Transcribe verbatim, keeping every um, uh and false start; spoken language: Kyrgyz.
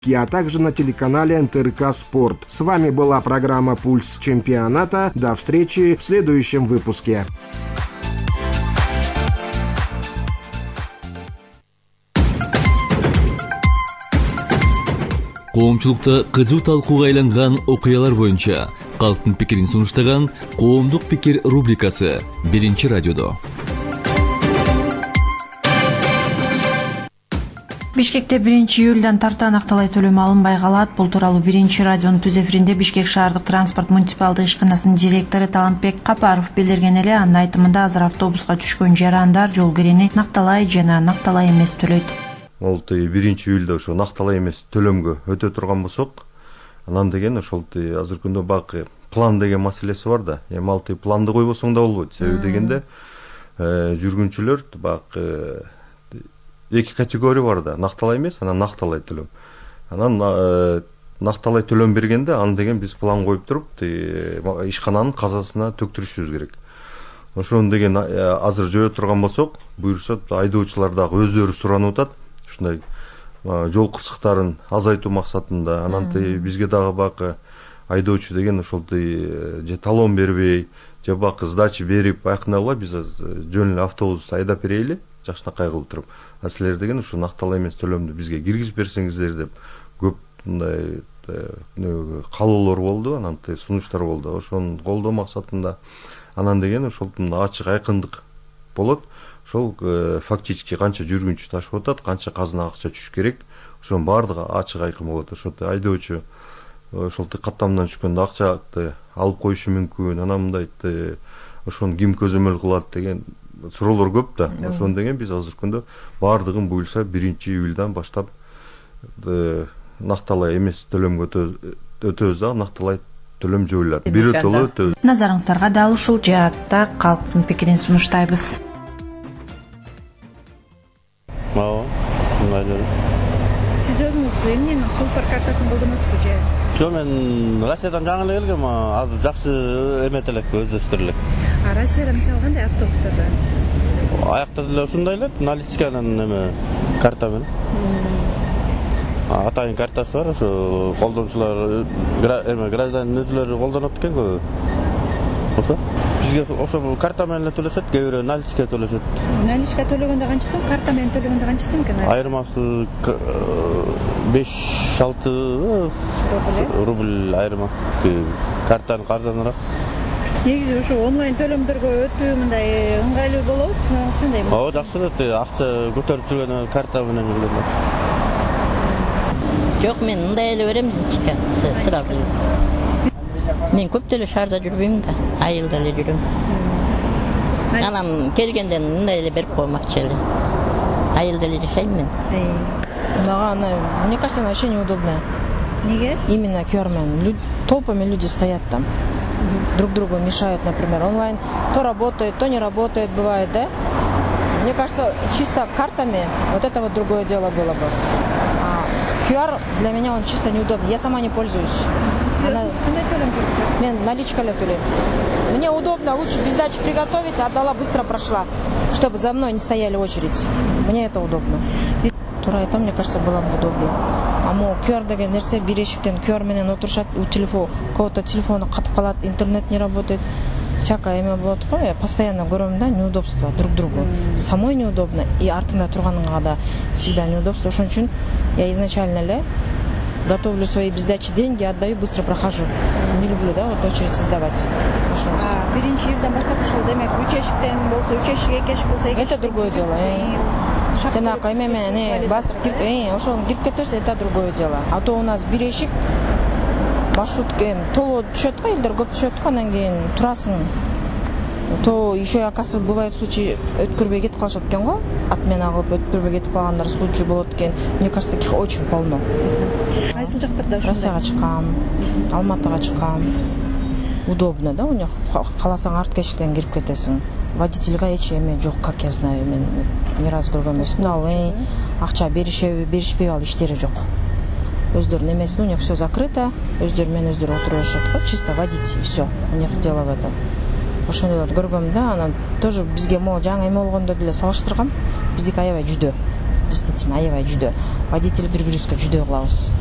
а также на телеканале эн тэ эр ка Спорт. С вами была программа «Пульс чемпионата». До встречи в следующем выпуске. Коомчулукта кызуу талкууга айланган окуялар боюнча калктын пикирин сунуштаган «Коомдук пикир» рубрикасы биринчи радиодо. Бишкекте биринчи июлдан тарта Накталай төлөмү алынбай калат. Бул тууралуу биринчи радионун түз эфиринде Бишкек шаардык транспорт муниципалдык ишканасынын директору Талантбек Капаров билдирген эле. Анын айтымында азыр автобуска түшкөн жарандар жол кирени Накталай жана Накталай эмес төлөйт. Ол биринчи июлда ошо Накталай эмес төлөмгө өтө турган болсок, анан деген ошол азыркы күндө бак план деген маселеси бар да. Эми ал планды койбосоң да болбойт. Себеби дегенде жүргүнчүлөр бак эки категория бар да. Накталай эмес, анан Накталай төлөм. Анан Накталай төлөм бергенде аны деген биз план коюп туруп, ишкананын казасына төктүрүшүбүз керек. Ошону деген азыр жөө турган болсок, буюрса айдоочулар дагы өздөрү суранып атат. Ушундай жол кырсыктарын азайтуу максатында, анан бизге дагы бак айдоочу деген ошол же талон бербей, же бак сдача берип, айкындагыла биз жөн эле автобус айдап берейли, жакшынакай кылып туруп. А силер деген ушу Накталай эмес төлөмдү бизге киргизип берсеңиздер деп көп мындай каалоолор болду, анан сунуштар болду. Ошону колдоо максатында анан деген ошол ачык айкындык болот. Ошол фактически канча жүргүнчү ташып атат, канча казына акча түшүш керек, ошонун баардыгы ачык айкын болот. Ошол айдоочу ошол каттамдан түшкөндө акчаны алып коюшу мүмкүн, анан мындай ошону ким көзөмөл кылат деген суроолор көп да. Ошону деген биз азыркы күндө баардыгын буюрса биринчи июлдан баштап Накталай эмес төлөмгө өтөбүз да, Накталай төлөм жоюлат. Бир жолу өтөбүз. Назарыңыздарга дал ушул жаатта калктын пикирин сунуштайбыз. Ооба, мындай. Сиз өзүңүз эмнени култар картасын колдоносузбу же? Жок, мен Россиядан жаңы эле келгем, азыр жакшы эмет элек, өздөштүр элек. А Россияда мисалы кандай автобустарда? Аякта деле ушундай эле, наличканын эме карта менен. Атайын картасы бар, ошо колдончулар эме гражданин өзүлөрү колдонот экен көбү. Ошо бизге ошо карта менен эле төлөшөт, кээ бирөө наличка төлөшөт. Наличка төлөгөндө канча сом, карта менен төлөгөндө канча сом экен? Айырмасы беш алты рубль айырма. Картанын арзаныраак. Негизи ошо онлайн төлөмдөргө өтүү мындай ыңгайлуу болобу? Сиңиз кандай? Ооба, жакшы да, акча көтөрүп жүргөн карта менен жүргөн. Жок, мен мындай эле берем, сразу. Мен көп деле шаарда жүрбөйм да, айылда эле жүрөм. Анан келгенде мындай эле берип коймакчы эле. Айылда эле жашайм мен. Мага она, мне кажется, она вообще неудобная. Неге? Именно ку ар менен. Толпами люди стоят там. Друг другу мешают, например. Онлайн то работает, то не работает, бывает, да? Мне кажется, чисто картами вот это вот другое дело было бы. А ку ар для меня он чисто неудобный. Я сама не пользуюсь. Она... Мен наличка эле төлөйм. Мне удобно, лучше без сдачи приготовить, отдала, быстро прошла, чтобы за мной не стояли очередь. Мне это удобно. Туура айтам, мне кажется, было бы удобно. А могу ку ар деген нерсе бир эшиктен ку ар менен отурушат, у телефон, кого-то телефону катып калат, интернет не работает. Всякое эме болот го, я постоянно көрөм да, неудобство друг другу. Самой неудобно, и артында турганыңа да всегда неудобство. Ошон үчүн я изначально эле готовлю свои без сдачи деньги, отдаю, быстро прохожу. Не люблю, да, вот очередь создавать. А биринчи июлдан баштап ушул демек үч эшиктен болсо үч эшик, эки эшик болсо эки. Это другое дело. Жанагы эме менен басып кирип, ошону кирип кетерсе, это другое дело. А то у нас бир эшик маршрут толо түшөт го, элдер көп түшөт го, анан кийин турасың. То еще, оказывается, бывает случай, өткөрбөй кетип калышат экен го, отмена кылып өткөрбөй кетип калгандар случай болот экен. Мне кажется, таких очень полно. Кайсыл жактарда ушундай? Россияга чыккам, Алматыга чыккам. Удобно, да, у них кааласаң артка эшиктен кирип кетесиң. Водительге эч эме жок, как я знаю, мен ни разу көргөн эмесмин. Ал акча беришеби, беришпейби, ал иштери жок. Өздөрүнүн эмеси, у них все закрыто, өздөрү менен өздөрү отуруп жатышат го, чисто водить и все. У них дело в этом. Ошондой көргөм да, анан тоже бизге могу жаңы эме болгондо деле салыштыргам. Биздики аябай жүдө. Действительно, аябай жүдө. Водитель бир бирибизге жүдө кылабыз.